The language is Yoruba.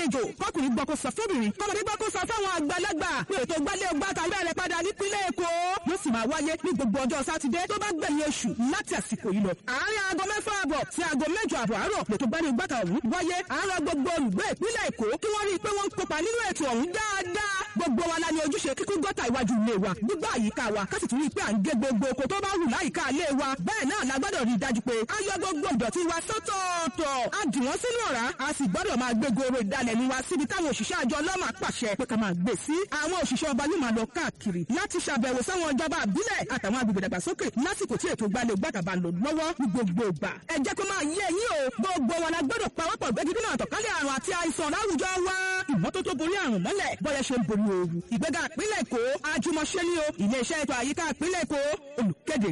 lálejò, kọkùnrin gbọ́ kó sọ fóbìnrin, kọ́mọdé gbọ́ kó sọ fáwọn àgbàlagbà pé ètò gbálé gbàtà bẹ̀rẹ̀ padà nípínlẹ̀ Èkó. Yóò sì máa wáyé ní gbogbo ọjọ́ Sátidé tó bá gbẹ̀yìn oṣù láti àsìkò yìí lọ. Àárín aago 6:30 sí aago 8:30 àárọ̀ lètò gbálé gbàtà ọ̀hún wáyé. Àárọ̀ gbogbo olùgbé ìpínlẹ̀ Èkó kí wọ́n rí i pé wọ́n ń kópa nínú ètò ọ̀hún dáadáa. Gbogbo wa la ní ojúṣe kíkún gọ́tà iwájú ilé wa, gbígbá àyíká wa, ká sì tún rí i pé à ń gé gbogbo oko tó bá wù láyìíká ilé wa. Bẹ́ẹ̀ náà la gbọ́dọ̀ rí i dájú pé a yọ gbogbo ìdọ̀tí wa sọ́tọ̀ọ̀tọ̀, a dì wọ́n sínú ọ̀rá, a sì gbọ́dọ̀ máa gbé goro ìdalẹ̀ ní wa síbi táwọn òṣìṣẹ́ àjọ ọlọ́mà pàṣẹ pé ká máa gbé sí. Àwọn òṣìṣẹ́ ọba yóò máa lọ káàkiri láti ṣàbẹ̀wò sáwọn ìjọba àbílẹ̀ àtàwọn agbègbè dàgbàsókè lásìkò tí ètò gbalẹ̀ gbàgàbà lò lọ́wọ́ ní gbogbo ìgbà. Ẹ jẹ́ kó máa yé yín o, gbogbo wa la gbọ́dọ̀ pawọ́pọ̀ gbẹ́gidínà àtọ̀kálẹ̀ àrùn àti àìsàn láwùjọ wa. Ìmọ́tótó borí àrùn mọ́lẹ̀ bọ́yẹ ṣe ń borí ooru. Ìgbéga ìpínlẹ̀ Èkó àjùmọ̀ṣe ni o. Ilé-iṣẹ́ ètò àyíká ìpínlẹ̀ Èkó olùkéde.